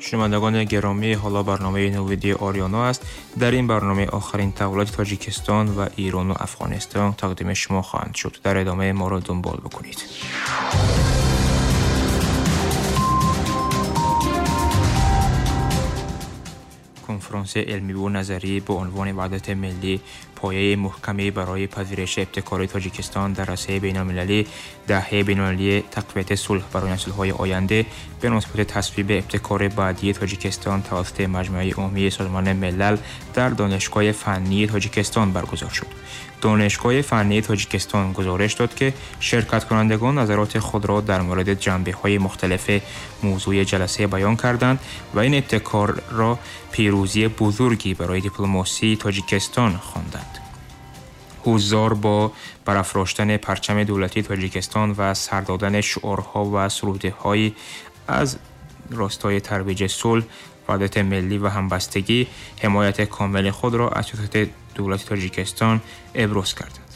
Шунавандагони гиромӣ, ҳоло барномаи Навиди Ориёно аст. Дар ин барнома охирин таҳаввулоти Тоҷикистон ва Эрон ва Афғонистон тақдими шумо хоҳанд шуд. Дар идома моро дунбол бикунед. کنفرانس علمی و نظری به عنوان وحدت ملی پایه محکمی برای پذیرش ابتکار تاجیکستان در عرصه بین‌المللی، دهه بین‌المللی تقویت صلح برای نسل‌های آینده به مناسبت تصویب ابتکار بعدی تاجیکستان توسط مجمع عمومی سازمان ملل در دانشگاه فنی تاجیکستان برگزار شد. دانشگاه فنی تاجیکستان گزارش داد که شرکت کنندگان نظرات خود را در مورد جنبه‌های مختلف موضوع جلسه بیان کردند و این ابتکار را پیروزی بزرگی برای دیپلماسی تاجیکستان خواندند. حضار با برافراشتن پرچم دولتی تاجیکستان و سر دادن شعارها و سروده‌های از راستای ترویج صلح، وحدت ملی و همبستگی حمایت کامل خود را از سیاست دولت تاجیکستان ابراز کردند.